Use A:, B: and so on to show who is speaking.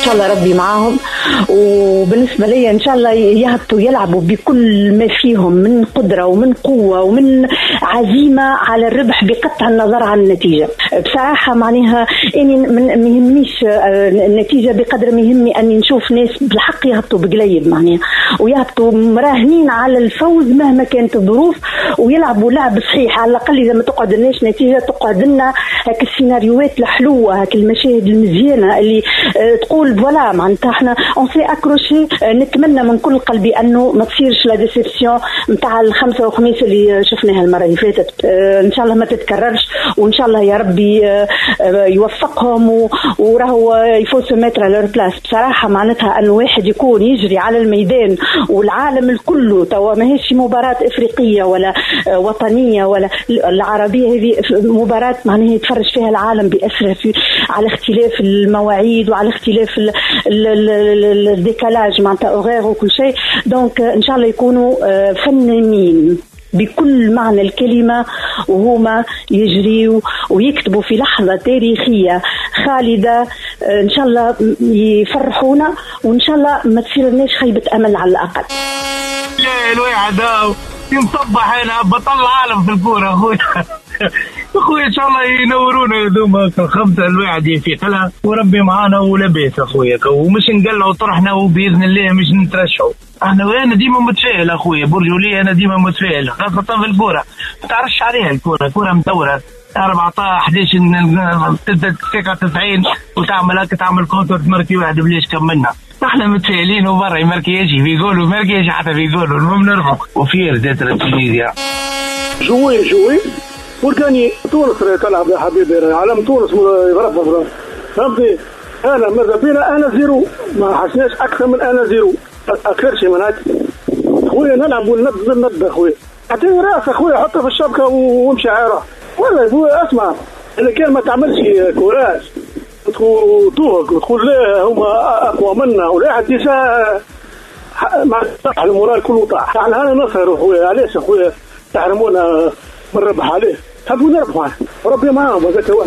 A: شاء الله ربي معاهم. وبالنسبة لي إن شاء الله يهبطوا يلعبوا بكل ما فيهم من قدرة ومن قوة ومن عزيمة على الربح بقطع النظر عن النتيجة. بصراحة معناها إني ما يهمنيش النتيجة بقدر ما يهمني أني نشوف ناس بالحق يهبطوا بقليب معناها، ويهبطوا مراهنين على الفوز مهما كانت الظروف، ويلعبوا لعب صحيح. على الأقل إذا ما تقعد لناش نتيجة تقعد لنا هاك السيناريوهات الحلوة، هاك المشاهد المزيانة اللي تقول voilà معناتها احنا on s'est accroché. نتمنى من كل قلبي انه ما تصيرش la déception نتاع الخمسة وخميس اللي شفناها المرة اللي فاتت. ان شاء الله ما تتكررش، وان شاء الله يا ربي يوفقهم، وراهو il faut se mettre à leur place. بصراحة معناتها انه واحد يكون يجري على الميدان والعالم الكل توا ماهيش مباراة افريقية ولا وطنية ولا العربية، هذه مباراة معناها يتفرج فيها العالم باسره على اختلاف المواعيد وعلى اختلاف ال décalage معناتها horaire وكل شيء. donc ان شاء الله يكونوا فنانين بكل معنى الكلمة، وهما يجريوا ويكتبوا في لحظة تاريخية خالدة. إن شاء الله يفرحونا، وإن شاء الله ما تصيرناش خيبة أمل على الأقل.
B: لا الواحد ينصبح هنا بطل العالم في الكورة أخويا. أخويا إن شاء الله ينورونا هذوما الخمسة الواحد يفيق لها، وربي معانا ولاباس أخويا، ومش نقلعوا طرحنا وبإذن الله مش نترشحوا. احنا وانا ديما متفائل اخويا برجولية، انا ديما متفائل خاصة في الكورة، ما تعرفش عليها الكورة، كورة مدورة 14 11 تبدا دقيقة 90 وتعمل هكا، تعمل contre تماركي واحد بلاش كملنا. احنا متفائلين وبرا يماركي في جول وماركي حتى في جول، المهم نربحوا و fier d'être Tunisien.
C: jouer jouer pour gagner. تونس تلعب يا حبيبي، علم تونس يرفرف، فهمتني؟ انا ماذا بينا un zéro، ما حسناش اكثر من un zéro، اكثر شيء من هكا خويا. نلعب ونبدا نبدا خويا، اعطيني راس خويا حطه في الشبكة وامشي عيره. ولا خويا اسمع، اذا كان ما تعملش courage وتوهق وتقول لا هما اقوى منا ولا حد déjà مع ال moral كله طاح. يعني انا نسهر خويا، علاش خويا تحرمونا من الربح؟ عليه تحبوا نربحوا، ربي معاهم هذاك هو.